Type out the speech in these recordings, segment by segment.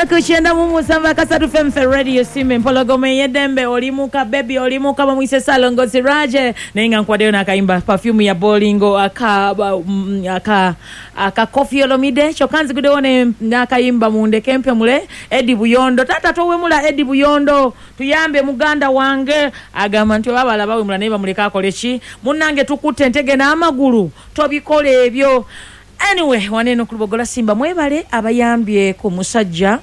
Ku 97 akasatu Femfe Radio, Simba Empologoma ey'eddembe. Olimuka baby, olimuka. Bamwise Salongo Siraje, naye nga nkwaddeyo n'akayimba Perfume ya Bolingo aka Koffi Olomide. Kyokka nziguddewo n'akayimba Mundeke Mpemule, Edi Buyondo. Taata towemula, Edi Buyondo, tuyambe muganda wange. Agamba nti oba balaba wemula, naye bamuleke akole ki? Munnange, tukutte entege n'amagulu, tobikola ebyo. Anyway, waneeno ku Lubogola Simba, mwebale abayambye ku musajja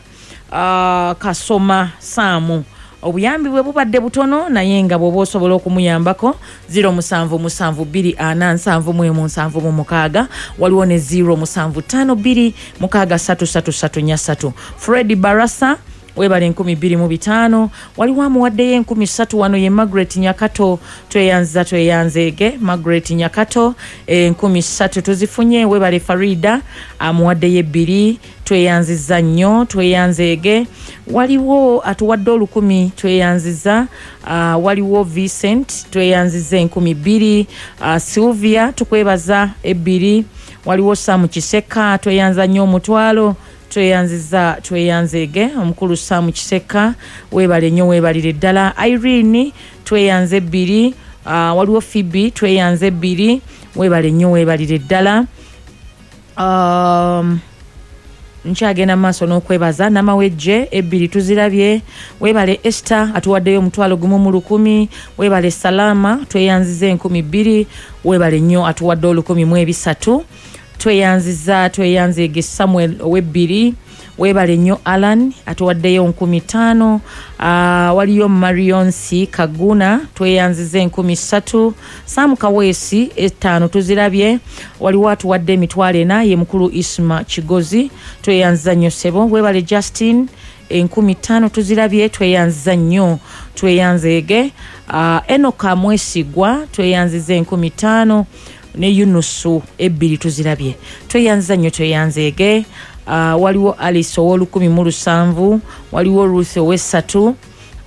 Kasoma Saamu. Obuyambi bwe bubadde butono, naye nga bw'oba osobola okumuyambako, 0772471776, waliwo ne 0752633343. Fred Barasa, webale 2500. Waliwo amuwaddeyo 3000 wano, ye Margaret Nyakato. Tweyanza, tweyanzeege. Margaret Nyakato, 3000 tuzifunye, webale. Farida amuwaddeyo ebbiri, tweyanziza nnyo, tweyanzeege. Waliwo atuwadde 1000, tweyanziza. Waliwo Vincent, tweyanziza 2000. Sylvia, tukwebaza ebbiri. Waliwo Samu Kiseka, tweyanza nnyo 500. Tweyanziza, tweyanzeege. Omukulu Samu Kiseka, weebale nnyo, weebalire ddala. Irene, tweyanze ebbiri. Waliwo Fibi, tweyanze ebbiri, weebale nnyo, weebalire ddala. Nkyagenda mu maaso n'okwebaza. Namawejje, ebbiri tuzirabye, weebale. Esther atuwaddeyo 10,100, weebale. Salama, tweyanziza 2000, weebale nnyo. Atuwadde 1300, tweyanziza, tweyanzeege. Samuel owebbiri, weebale nnyo. Alan atuwaddeyo 5000. Waliyo Marionsi Kaguna, tweyanziza 3000. Sam Kaweesi, etaano tuzirabye. Waliwo atuwadde 40,000, ye mukulu Isma Kigozi, tweyanziza nnyo ssebo, weebale. Justin, 5000 tuzirabye, tweyanziza nnyo, tweyanzeege. Enoka Mwesigwa, tweyanziza 5000, ne Yunusu, ebbiri tuzirabye, tweyanziza nnyo, tweyanzeege. Waliwo Alice ow'1007, waliwo Ruth ow'essatu,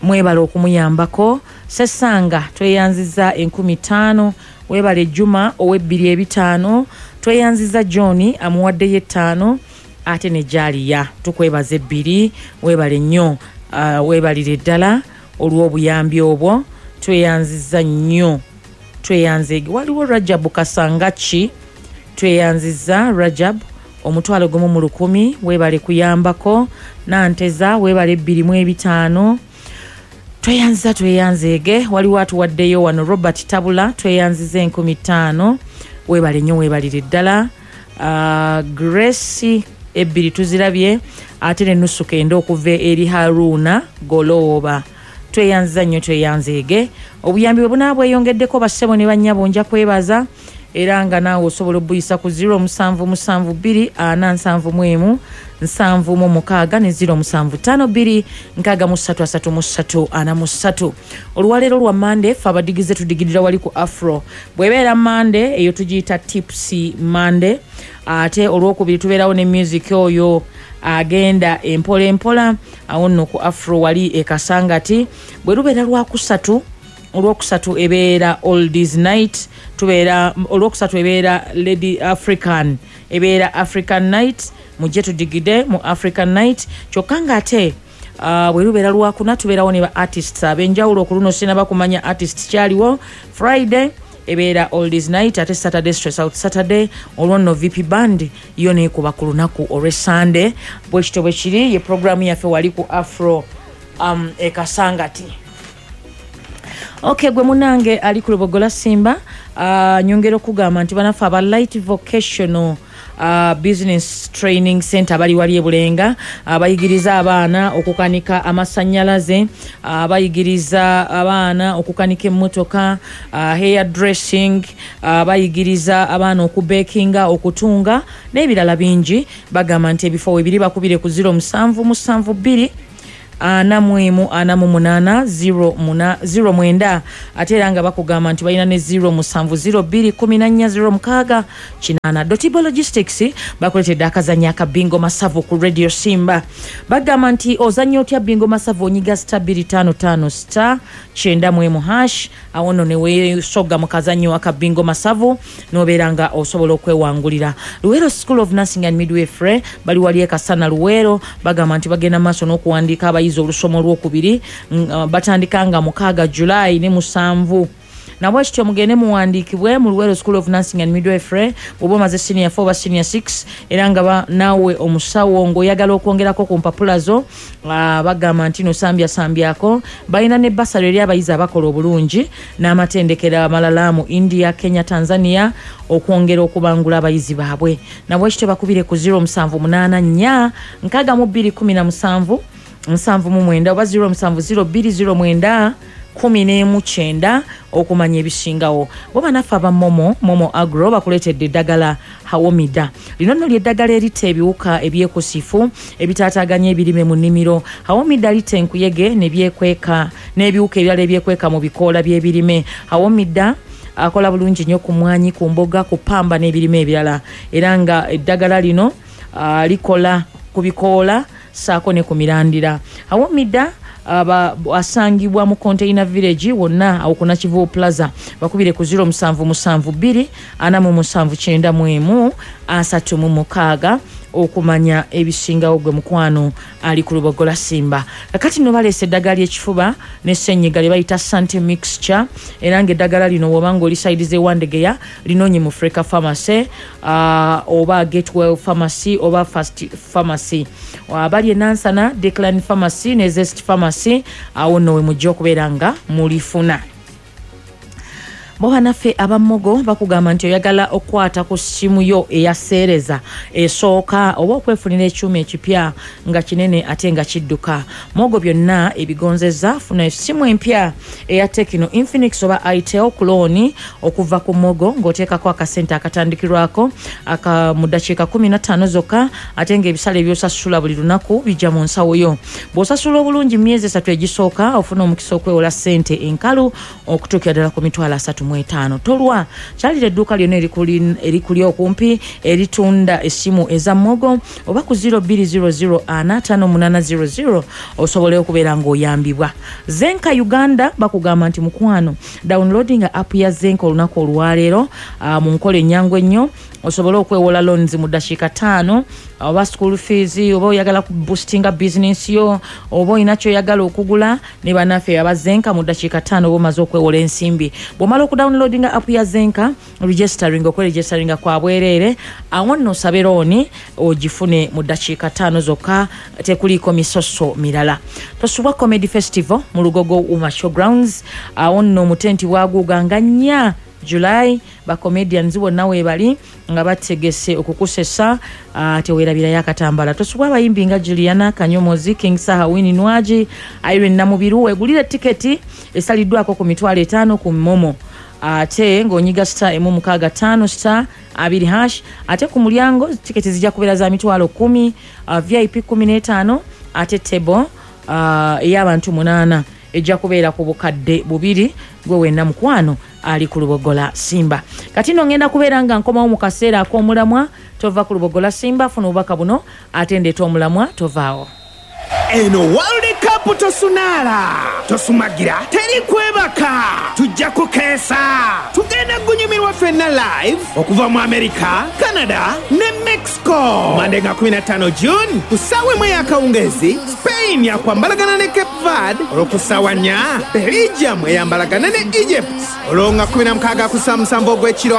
mwebale okumuyambako. Sesanga, tweyanziza 5000, webale. Juma ow'ebbiri ebitaano, tweyanziza. John amuwaddeyo ettaano, ate ne Jaliya, tukwebaza ebbiri, webale nnyo. Webalire ddala olw'obuyambi obwo, tweyanziza nnyo, tweyanzeege. Waliwo Rajabu Kasangaki, tweyanziza. Rajab, 10,000, webale kuyambako. Nanteza, webale ebbiri mu ebitaano, tweyanziza, tweyanzeege. Waliwo atuwaddeyo wano Robert Tabula, tweyanziza 5000, webale nnyo, webalire ddala. Grace, ebbiri tuzirabye, ate ne nusu kenda okuva eri Haruna Golooba, tweyanziza nnyo, tweyanzeege. Obuyambi bwe bunaba bweyongeddeko, bassebo ne bannyabo, nja kwebaza, era nga naawe osobola obuyisa ku 0772471776 ne 0752633343. Olwaleero lwa Mande, fe abadigize tudigirira wali ku Afro. Bw'ebeera Mande eyo tugiyita Tipsy Monday, ate olwokubiri tubeerawo ne music oyo agenda empola empola, awo nno ku Afro wali e Kasangati. Bwe lubeera lwakusatu, olwokusatu ebeera Oldies Night, tubeera olwokusatu ebeera Lady African, ebeera African Night. Mujje tudigide mu African Night. Kyokka ngaate bwe lubeera lwakuna, tubeerawo ne ba artists ab'enjawulo. Ku luno sinaba kumanya artist kyaliwo. Friday ebeera Oldies Night, ate Saturday Stress Out Saturday. Olwo nno VP Band yo neekuba ku lunaku olw'Esande. Bwekityo bwe kiri, ye programu yaffe wali ku Afro e Kasangati. Ok, gwe munange ali ku Lubogola Simba, nyongera okugamba nti banaffe aba Light Vocational Business Training Center bali wali ebulenga, bayigiriza abaana okukanika amasanyalaze, bayigiriza abaana okukanika emmotoka, hair dressing, bayigiriza abaana okubekinga, okutunga n'ebirala bingi. Bagamba nti ebifo webiri, bakubire ku 0772 41 48 09, ate era nga bakugamba nti balina ne 07 02 14 06 8. Dotibo Logistics bakuleetedde akazannyo aka Bingo Masavu ku Radio Simba. Bagamba nti ozannya otya Bingo Masavu? Onyiga star 255 star 91 hash, awo nno ne weesoga mu kazannyo aka Bingo Masavu n'obeera nga osobola okwewangulira. Luweero School of Nursing and Midwifery bali wali e Kasana Luweero, bagamba nti bagenda maaso n'okuwandiika abayizi olusoma olwokubiri, batandika nga 6 July ne 7. Nabwekityo mugende muwandiikibwe mu Luweero School of Nursing and Midwifery bw'oba omaze senior 4 oba senior 6, era nga naawe omusawo ng'oyagala okwongerako ku mpapula zo, bagamba nti no sambyasambyako. Balina ne basale eri abayizi abakola obulungi n'amatendekero amalala mu India, Kenya, Tanzania okwongera okubangula abayizi baabwe. Nabwekityo bakubire ku 0784 62 17 79 oba 07 02 09 19 okumanya ebisingawo. Bo bannaffe aba Momo, Momo Agro bakuleetedde eddagala Hawomida. Lino nno ly'eddagala eritta ebiwuka ebyekusifu ebitaataaganya ebirime mu nnimiro. Hawomida litta enkuyege nebyekweka n'ebiwuka ebirala ebyekweka mu bikoola by'ebirime. Hawomida akola bulungi nnyo ku mwanyi, ku mboga, ku pamba n'ebirime ebirala, era nga eddagala lino likola ku bikoola ssaako ne ku mirandira. Hawomida asangibwa mu Container Village wonna awo ku Nakivubo Plaza. Bakubire ku 0772 47 91 36 okumanya ebisingawo. Gwe mukwano ali ku Lubogola Simba, kakati nno baleese eddagala ly'ekifuba ne ssenyiga lye bayita Sante Mixture, era ng'eddagala lino bw'oba ng'oli side z'e Wandegeya linoonye mu Freka Pharmacy oba Gatewell Pharmacy oba Fast Pharmacy. Abali e Nansana, Declan Pharmacy ne Zest Pharmacy, awo nno we mujja okubeera nga mulifuna. Bo bannaffe abamogo bakugamba nti oyagala okukwata ku ssimu yo eyaseereza esooka oba okwefunira ekyuma ekipya nga kinene ate nga kidduka, Mogo byonna ebigonzeza. Funa essimu empya eya Tecno, Infinix oba Itel ku looni okuva ku Mogo ng'oteekako akasente akatandikirwako aka mu ddakiika 15 zokka, ate ng'ebisale by'osasula buli lunaku bijja mu nsawo yo. Bw'osasula obulungi mu myezi 3 egisooka, ofuna omukisa okwewola ssente enkalu okutuukira ddala ku 350,000. Tolwa, kyalira edduuka lyonna erikuli okumpi eritunda essimu eza Mogo oba ku 0200 45800 osobole okubeera ng'oyambibwa. Zenka Uganda bakugamba nti mukwano, downloading app ya Zenka olunaku olwaleero mu nkola ennyangu ennyo osobole okwewola loans mu ddakiika 5, oba school fees, oba oyagala ku boostinga business yo, oba olina kyoyagala okugula. Ne bannaffe aba Zenka mu ddakiika 5 oba omaze okwewola ensimbi. Bw'omala okudownloadinga app ya Zenka, registering, okweregisteringa kwa bwereere, awo nno osabe looni ogifune mu ddakiika 5 zokka, tekuliiko misoso mirala. Tosubwa Comedy Festival mu Lugogo Uma Showgrounds, awo nno omutenti bwaguuga nga 4 July, bacomedians bonna weebali nga bategese okukusesa, teweerabirayo akatambala. Tosubwa abayimbi nga Juliana Kanyomozi, King Saha, Winnie Nwagi, Irene Namubiru. Weegulire tiketi esaliddwako ku 50,000 ku Momo, ate ng'onyiga star 165 star 2 hash. Ate ku mulyango tiketi zijja kubeera za 10,000, VIP 15, ate table ey'abantu 8 ejja kubeera ku 2,000. Gwe wenna mukwano ali ku Lubogola Simba, kati nno ngenda kubeera nga nkomawo mu kaseera ak'omulamwa. Tova ku Lubogola Simba, funa obubaka buno ate ndeeta omulamwa, tovaawo. Eno World Cup tosunaala, tosumagira, teri kwebaka, tujja kukeesa, tugenda gunyumirwa ffenna live okuva mu America, Canada ne Mexico. Mande nga 15 June ku ssaawa 1 ey'akawungeezi, Spain yakwambalagana ne Cape Verde, olwo ku ssaawa 4 Belgium eyambalagana ne Egypt, olwo nga 16 ku ssaawa 7 ogw'ekiro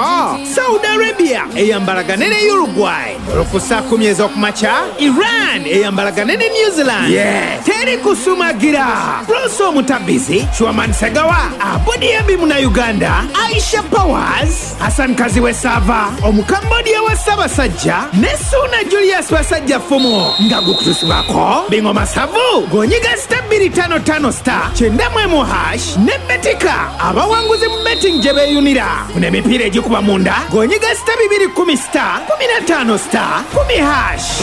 Saudi Arabia eyambalagane ne Uruguay, olwo ku ssaawa 10 ez'okumakya Iran eyambalagane ne New Zealand. Teri kusumagira. Bruce Omutabizi, Chuaman Segawa, Abudi Muna Uganda, Aisha Powers, Hassan Kaziwe Sava, Omukambodia wa Ssaabasajja ne Suuna Julius Basajja Fumu, nga gukutusibwako Bingo Masavu ng'onyiga star 255 star 91 hash ne Betika, abawanguzi mu betting gye beeyunira. Funa emipiira egikuba munda ng'onyiga star 210 star 15 star 10 hash.